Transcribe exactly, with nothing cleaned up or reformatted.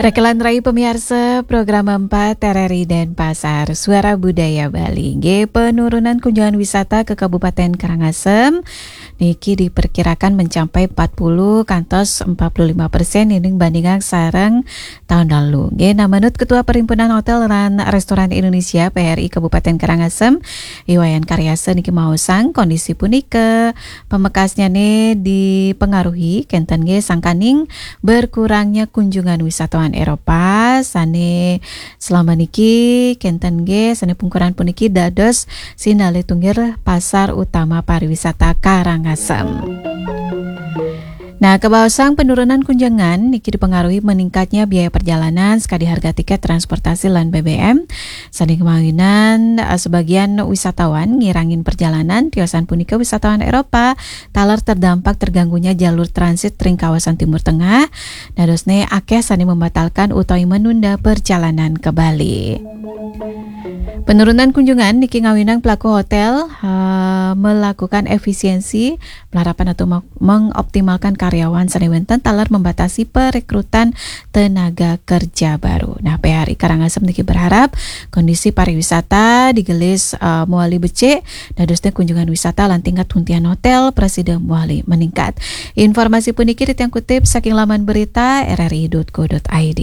Rekelan rai pemiarsa program empat R R I Denpasar, Suara Budaya Bali. Nggih, penurunan kunjungan wisata ke Kabupaten Karangasem niki diperkirakan mencapai empat puluh kantos empat puluh lima persen ining bandingang sareng tahun lalu. Nggih, nah, menurut Ketua Perhimpunan Hotel lan Restoran Indonesia, P H R I, Kabupaten Karangasem, I Wayan Karyasa niki maosang kondisi punika pamekasnyane dipengaruhi kenten nggih sangkaning berkurangnya kunjungan wisatawan Eropa sane selama niki kenten nggih sane pungkuran puniki dados sinalih tunggil pasar utama pariwisata Karangasem. Nah, kabaosang penurunan kunjungan niki dipengaruhi meningkatnya biaya perjalanan sekadi harga tiket transportasi lan B B M. Sane kemawinan, eh, sebagian wisatawan ngirangin perjalanan, tiosan punika wisatawan Eropa taler terdampak terganggunya jalur transit ring kawasan Timur Tengah. Dadosne akeh sane membatalkan utawi menunda perjalanan ke Bali. Penurunan kunjungan niki ngawinang pelaku hotel, eh, melakukan efisiensi melarapan atau me-, mengoptimalkan karyawan sane wenten taler membatasi perekrutan tenaga kerja baru. Nah, P H R I Karangasem niki berharap kondisi pariwisata digelis, eh, mawali becik, dadosne kunjungan wisata lan tingkat huntian hotel prasida mawali meningkat. Informasi puniki titiang kutip saking laman berita R R I dot co dot I D.